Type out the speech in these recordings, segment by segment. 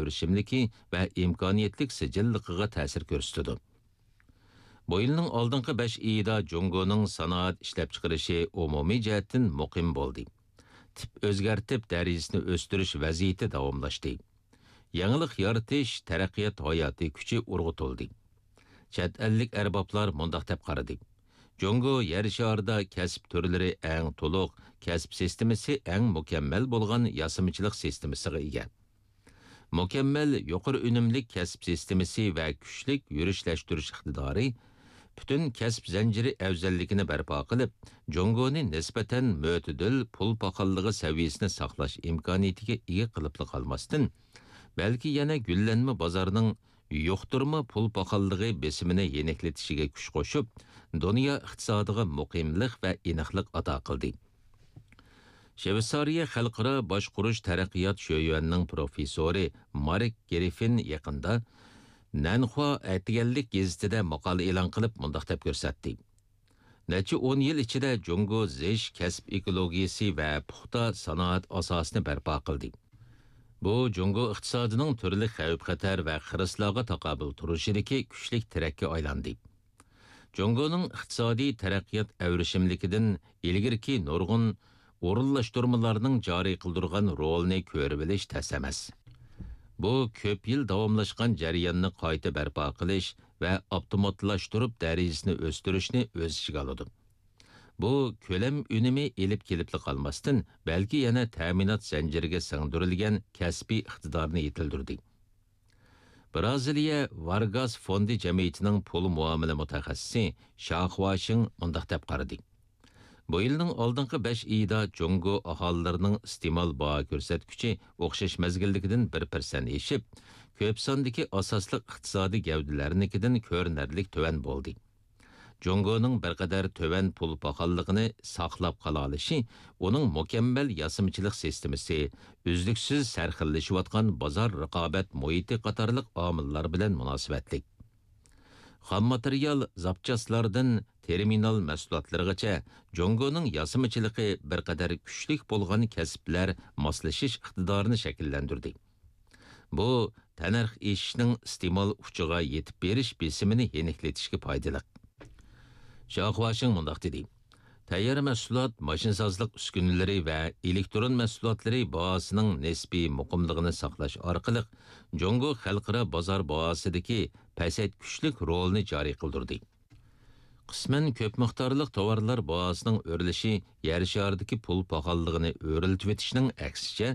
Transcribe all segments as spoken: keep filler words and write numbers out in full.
ئەۋرىشىملىكى ۋە ئىمكانىيەتلىك سىجىللىقىغا تەسىر كۆرسىتىدۇ. بۇ يىلنىڭ ئالدىنقى بەش ئېيىدا جۇڭگونىڭ سانائەت ئىشلەپچىقىرىشى ئومۇمىي جەھەتتىن مۇقىم بولدى. تىپ ئۆزگەرتىپ، دەرىجىسىنى ئۆستۈرۈش ۋەزىيىتى داۋاملاشتى. يېڭىلىق يارىتىش، تەرەققىيات ھاياتىي كۈچى ئۇرغۇتۇلدى. چەت ئەللىك ئەربابلار مۇنداق دەپ قارىدى: جۇڭگو يەر شارىدا كەسىپ تۈرلىرى ئەڭ تولۇق، كەسىپ سىستېمىسى ئەڭ مۇكەممەل بولغان ياسىمىچىلىق سىستېمىسىغا ئىگە. مۇكەممەل يۇقىرى ئۈنۈملۈك كەسىپ سىستېمىسى ۋە كۈچلۈك يۈرۈشلەشتۈرۈش ئىقتىدارى پۈتۈن كەسىپ زەنجىرى ئەۋزەللىكىنى بەرپا قىلىپ، جۇڭگونى نىسبەتەن مۆتىدىل پۇل پاخاللىقى سەۋىيەسىنى ساقلاش ئىمكانىيىتىگە ئىگە قىلىپلا قالماستىن، بەلكى يەنە گۈللەنمە بازارنىڭ يۇقتۇرما پۇل پاخاللىقى بېسىمىنى يېنىكلىتىشىگە كۈچ قوشۇپ، دۇنيا ئىقتىسادىغا مۇقىملىق ۋە ئېنىقلىق ئاتا قىلدى. شۋېتسارىيە خەلقئارا باشقۇرۇش تەرەققىيات شۆيۈەنىنىڭ پروفېسسورى مارك گرىففىن يېقىندا نەنخۇا ئەتىگەنلىك گېزىتىدە ماقالە ئېلان قىلىپ، مۇنداق دەپ كۆرسەتتى: نەچچە ئون يىل ئىچىدە جۇڭگو زىچ كەسىپ ئېكولوگىيىسى ۋە پۇختا سانائەت ئاساسىنى بەرپا قىلدى. بۇ جۇڭگو ئىقتىسادىنىڭ تۈرلۈك خەۋپ-خەتەر ۋە خىرىسلارغا تاقابىل تۇرۇشىدىكى كۈچلۈك تىرەككە ئايلاندى. جۇڭگونىڭ ئىقتىسادىي تەرەققىيات ئەۋرىشىملىكىدىن ئىلگىرىكى نۇرغۇن ئورۇنلاشتۇرمىلارنىڭ جارى قىلدۇرغان رولىنى كۆرۈۋېلىش تەس ئەمەس. بۇ كۆپ يىل داۋاملاشقان جەرياننى قايتا بەرپا قىلىش ۋە ئاپتوماتلاشتۇرۇپ دەرىجىسىنى ئۆستۈرۈشنى ئۆز ئىچىگە ئالىدۇ. بۇ كۆلەم ئۈنۈمى ئېلىپ كېلىپلا قالماستىن، بەلكى يەنە تەمىنات زەنجىرىگە سىڭدۈرۈلگەن كەسپىي ئىقتىدارنى يېتىلدۈردى. بىرازىلىيە ۋارگاس فوندى جەمئىيىتىنىڭ پۇل مۇئامىلە مۇتەخەسسىسى شاخۇاشىڭ مۇنداق دەپ قارىدى: بۇ يىلنىڭ ئالدىنقى بەش ئېيىدا جۇڭگو ئاھالىلىرىنىڭ ئىستېمال باھا كۆرسەتكۈچى ئوخشاش مەزگىلدىكىدىن بىر پىرسەنت ئېشىپ، كۆپ ساندىكى ئاساسلىق ئىقتىسادىي گەۋدىلەرنىڭكىدىن كۆرۈنەرلىك تۆۋەن بولدى. جۇڭگونىڭ بىر قەدەر تۆۋەن پۇل پاخاللىقىنى ساقلاپ قالالىشى ئۇنىڭ مۇكەممەل ياسىمىچىلىق سىستېمىسى، ئۈزلۈكسىز سەرخىللىشىۋاتقان بازار رىقابەت مۇھىتى قاتارلىق ئامىللار بىلەن مۇناسىۋەتلىك. خام ماتېرىيال، زاپچاسلاردىن تېرمىنال مەھسۇلاتلىرىغىچە جۇڭگونىڭ ياسىمىچىلىقى بىر قەدەر كۈچلۈك بولغان كەسىپلەر ماسلىشىش ئىقتىدارىنى شەكىللەندۈردى. بۇ تەننەرخ ئېشىشنىڭ ئىستېمال ئۇچىغا يېتىپ بېرىش بېسىمىنى يېنىكلىتىشكە پايدىلىق. شاخۇاشىڭ مۇنداق دېدى: تەييار مەھسۇلات، ماشىنىسازلىق ئۈسكۈنىلىرى ۋە ئېلېكترون مەھسۇلاتلىرى باھاسىنىڭ نىسپىي مۇقىملىقىنى ساقلاش ئارقىلىق، جۇڭگو خەلقئارا بازار باھاسىدىكى پەسەيتكۈچلۈك رولىنى جارى قىلدۇردى. قىسمەن كۆپ مىقدارلىق تاۋارلار باھاسىنىڭ ئۆرلىشى يەر شارىدىكى پۇل پاخاللىقىنى ئۆرلىتىۋېتىشنىڭ ئەكسىچە،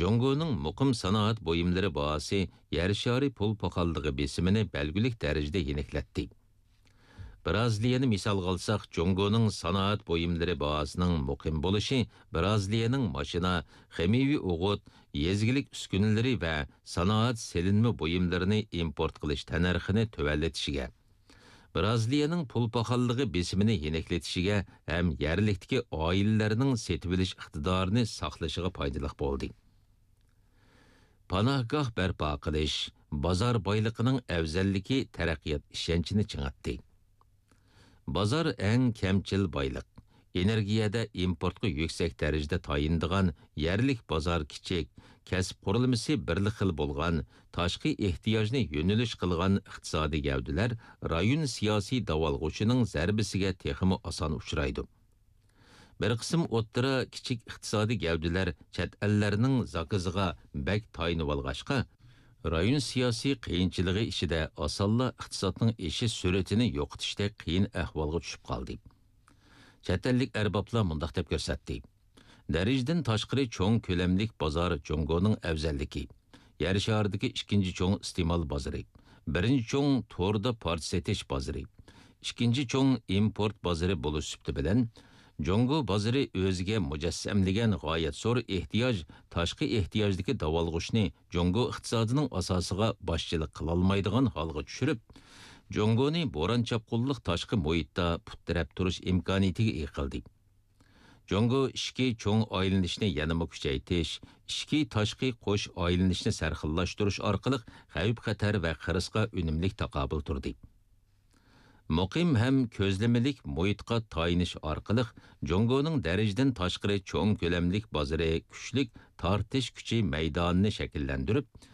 جۇڭگونىڭ مۇقىم سانائەت بۇيۇملىرى باھاسى يەر شارى پۇل پاخاللىقى بېسىمىنى بەلگىلىك دەرىجىدە يېنىكلەتتى. بىرازىلىيەنى مىسالغا ئالساق، جۇڭگونىڭ سانائەت بۇيۇملىرى باھاسىنىڭ مۇقىم بولۇشى بىرازىلىيەنىڭ ماشىنا، خىمىيەۋى ئوغۇت، يېزا ئىگىلىك ئۈسكۈنىلىرى ۋە سانائەت سېلىنما بۇيۇملىرىنى ئىمپورت قىلىش تەننەرخىنى تۆۋەنلىتىشىگە، بىرازىلىيەنىڭ پۇل پاخاللىقى بېسىمىنى يېنىكلىتىشىگە ھەم يەرلىكتىكى ئائىلىلەرنىڭ سېتىۋېلىش ئىقتىدارىنى ساقلىشىغا پايدىلىق بولدى. پاناھگاھ بەرپا قىلىش بازار بايلىقىنىڭ ئەۋزەللىكى تەرەققىيات ئىشەنچىنى چىڭىتتى. بازار ئەڭ كەمچىل بايلىق، ئېنېرگىيەدە ئىمپورتقا يۈكسەك دەرىجىدە تايىنىدىغان يەرلىك بازار كىچىك، كەسىپ قۇرۇلمىسى بىرلا خىل بولغان، تاشقى ئېھتىياجنى يۆنىلىش قىلغان ئىقتىسادىي گەۋدىلەر رايون سىياسىي داۋالغۇچىنىڭ زەربىسىگە تېخىمۇ ئاسان ئۇچرايدۇ. بىر قىسىم ئوتتۇرا، كىچىك ئىقتىسادىي گەۋدىلەر چەت ئەللەرنىڭ زاكىزىغا بەك تايىنىۋالغاچقا، رايون سىياسىي قىيىنچىلىقى ئىچىدە ئاسانلا ئىقتىسادنىڭ ئېشىش سۈرئىتىنى يوقىتىشتەك قىيىن ئەھۋالغا چۈشۈپ قالدى. چەت ئەللىك ئەربابلار مۇنداق دەپ كۆرسەتتى: دەرىجىدىن تاشقىرى چوڭ كۆلەملىك بازار جۇڭگونىڭ ئەۋزەللىكى، يەر شارىدىكى ئىككىنچى چوڭ ئىستېمال بازىرى، بىرىنچى چوڭ توردا پارچە سېتىش بازىرى، ئىككىنچى چوڭ ئىمپورت بازىرى بولۇش سۈپىتى بىلەن، جۇڭگو بازىرى ئۆزىگە مۇجەسسەملىگەن غايەت زور ئېھتىياج، تاشقى ئېھتىياجدىكى داۋالغۇشنى جۇڭگو ئىقتىسادىنىڭ ئاساسىغا باشچىلىق قىلالمايدىغان ھالغا چۈشۈرۈپ، جۇڭگونى بوران-چاپقۇنلۇق تاشقى مۇھىتتا پۇت تىرەپ تۇرۇش ئىمكانىيىتىگە ئىگە قىلدى. جۇڭگو ئىچكى چوڭ ئايلىنىشنى يەنىمۇ كۈچەيتىش، ئىچكى تاشقى قوش ئايلىنىشنى سەرخىللاشتۇرۇش ئارقىلىق خەۋپ-خەتەر ۋە خىرىسقا ئۈنۈملۈك تاقابىل تۇردى. مۇقىم ھەم كۆزلىمىلىك مۇھىتقا تايىنىش ئارقىلىق جۇڭگونىڭ دەرىجىدىن تاشقىرى چوڭ كۆلەملىك بازىرى كۈچلۈك تارتىش كۈچى مەيدانىنى شەكىللەندۈرۈپ،